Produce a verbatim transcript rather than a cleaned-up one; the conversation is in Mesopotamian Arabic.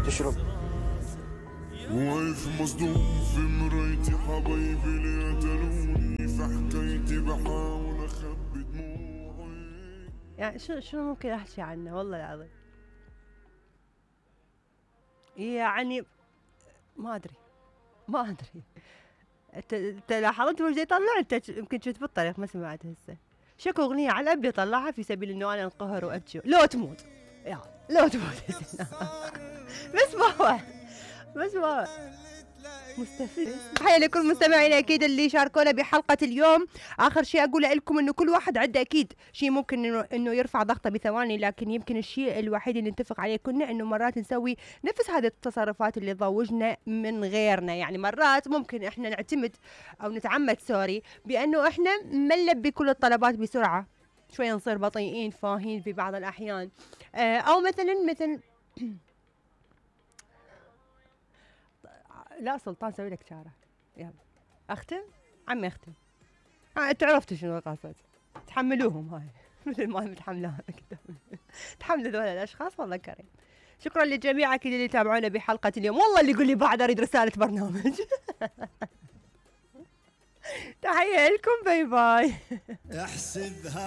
تشرب. واقف مصدوم في مرايتي حبايبي اللي قتلوني، في حكايتي بحاول اخبي دموعي. يعني شو شو ممكن احكي عنه والله العظيم. يعني ما ادري ما ادري. انت انت لاحظت وش يطلع؟ انت يمكن كنت بالطريق ما سمعت هسه. شكو اغنيه على ابي طلعها في سبيل انه انا انقهر وابكي لو تموت. يا لو تموت. بس ما هو بس ما هو مستفز. تحية لكل مستمعينا اكيد اللي شاركونا بحلقة اليوم. اخر شيء اقول لكم انه كل واحد عنده اكيد شيء ممكن انه انه يرفع ضغطه بثواني، لكن يمكن الشيء الوحيد اللي نتفق عليه كنا انه مرات نسوي نفس هذه التصرفات اللي تضوجنا من غيرنا. يعني مرات ممكن احنا نعتمد او نتعمد سوري بانه احنا ما نلبي كل الطلبات بسرعة، شوية نصير بطيئين فاهين في بعض الاحيان. آه او مثلا مثل لا سلطان سوي لك شارة. يلا اختم عمي اختم. ها انتوا عرفتوا شنو القصد. تحملوهم هاي مثل ما متحملوها تحملوا ذولا الاشخاص. والله كريم. شكرا للجميع اكيد اللي تابعونا بحلقة اليوم. والله اللي يقول لي بعد اريد رسالة برنامج. تحية لكم باي باي. احسبها